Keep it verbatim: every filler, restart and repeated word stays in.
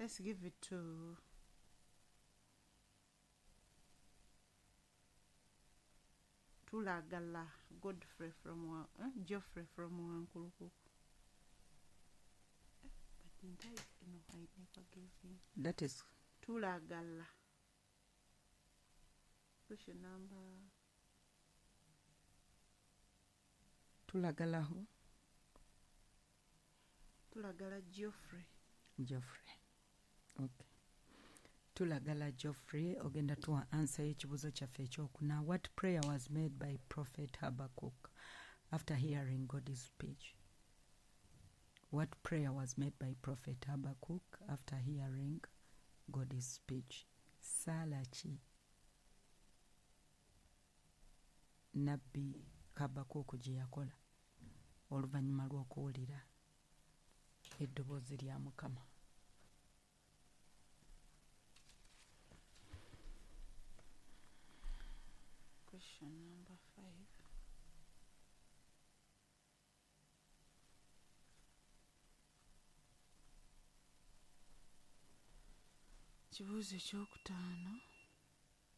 Let's give it to Tulagala Godfrey from Wa- eh, Geoffrey from Wankulukuku. Eh, But didn't I? No, I never gave him. That is Tulagala. Question number Tulagala who? Tulagala Geoffrey. Geoffrey. Okay. Tulagala Geoffrey ogenda tuwa answer y'ekibuuzo kyaffe ekyokuna. What prayer was made by Prophet Habakkuk after hearing God's speech? What prayer was made by Prophet Habakkuk after hearing God's speech? Ssaala ki Nabbi Habakkuk gye yakola oluvannyuma lw'okuwulira eddoboozi lya Mukama? Question number five. Kibuuzo ekyokutaano.